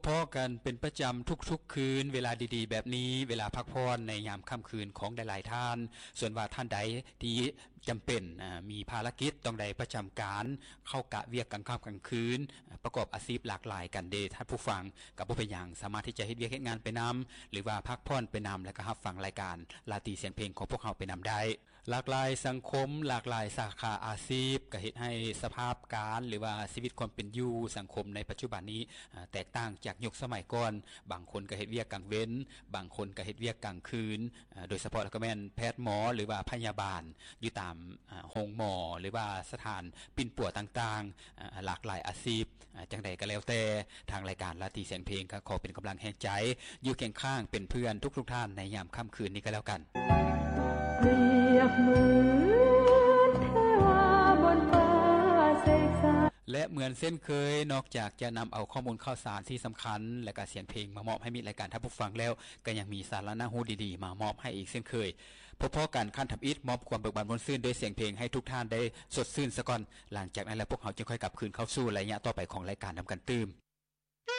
ພໍ້ກັນເປັນປະຈຳທຸກໆຄືນ ເວລາດີໆແບບນີ້ ເວລາພັກຜ່ອນໃນຍາມຄ່ຳຄືນຂອງຫຼາຍໆທ່ານ. ສ່ວນວ່າທ່ານໃດທີ່ຈຳເປັນ ອາ ມີພາລະກິດຕ້ອງໄດ້ປະຈຳການ ເຂົ້າກະວຽກກາງຄ່ຳກາງຄືນ ປະກອບອາຊີບຫຼາກຫຼາຍກັນເດທ່ານຜູ້ຟັງ ກໍບໍ່ເປັນຫຍັງ ສາມາດທີ່ຈະເຮັດວຽກເຮັດງານໄປນຳ ຫຼືວ່າພັກຜ່ອນໄປນຳ ແລະກໍຮັບຟັງລາຍການລາຕີສຽງເພງຂອງພວກເຮົາໄປນຳໄດ້. ຫຼາກຫຼາຍສັງຄົມ, ຫຼາກຫຼາຍສາຂາອາຊີບ ກໍເຮັດໃຫ້ສະພາບການ ຫຼືວ່າຊີວິດຄວາມເປັນຢູ່ສັງຄົມໃນປັດຈຸບັນນີ້ ອາ ແຕກຕ່າງຈາກຍຸກສະໄໝກ່ອນ. ບາງຄົນກໍເຮັດວຽກກາງເວັນ, ບາງຄົນກໍເຮັດວຽກກາງຄືນ, ອາ ໂດຍສະເພາະແລ້ວກໍແມ່ນແພດໝໍ ຫຼືວ່າພະຍາບານ ຢູ່ຕາມ ອາ ໂຮງໝໍ ຫຼືວ່າສະຖານປິ່ນປົວຕ່າງໆ ອາ ຫຼາກຫຼາຍອາຊີບ. ອາ ຈັ່ງໃດກໍແລ້ວແຕ່ ທາງລາຍການລາຕີສຽງເພງກໍຂໍເປັນກຳລັງແຮງໃຈ ຢູ່ຄຽງຂ້າງເປັນເພື່ອນທຸກໆທ່ານໃນຍາມຄ່ຳຄືນນີ້ກໍແລ້ວກັນ. ປຽບເໝືອນເທວາບົນຟ້າເສກສາ ແລະເໝືອນເຊັ່ນເຄີຍ ນອກຈາກຈະນຳເອົາຂໍ້ມູນຂ່າວສານທີ່ສຳຄັນ ແລະກະສຽງເພງມາມອບໃຫ້ມິດລາຍການທ່ານຜູ້ຟັງແລ້ວ ກໍຍັງມີສາລະໜ້າຮູ້ດີໆມາມອບໃຫ້ອີກເຊັ່ນເຄີຍ. ພົບພໍ້ກັນຄັ້ງທຳອິດ ມອບຄວາມເບີກບານມ່ວນຊື່ນດ້ວຍສຽງເພງໃຫ້ທຸກທ່ານໄດ້ສົດຊື່ນສາກ່ອນ. ຫຼັງຈາກນັ້ນແລ້ວ ພວກເຮົາຈຶ່ງຄ່ອຍກັບຄືນເຂົ້າສູ່ໄລຍະຕໍ່ໄປຂອງລາຍການນຳກັນຕື່ມ.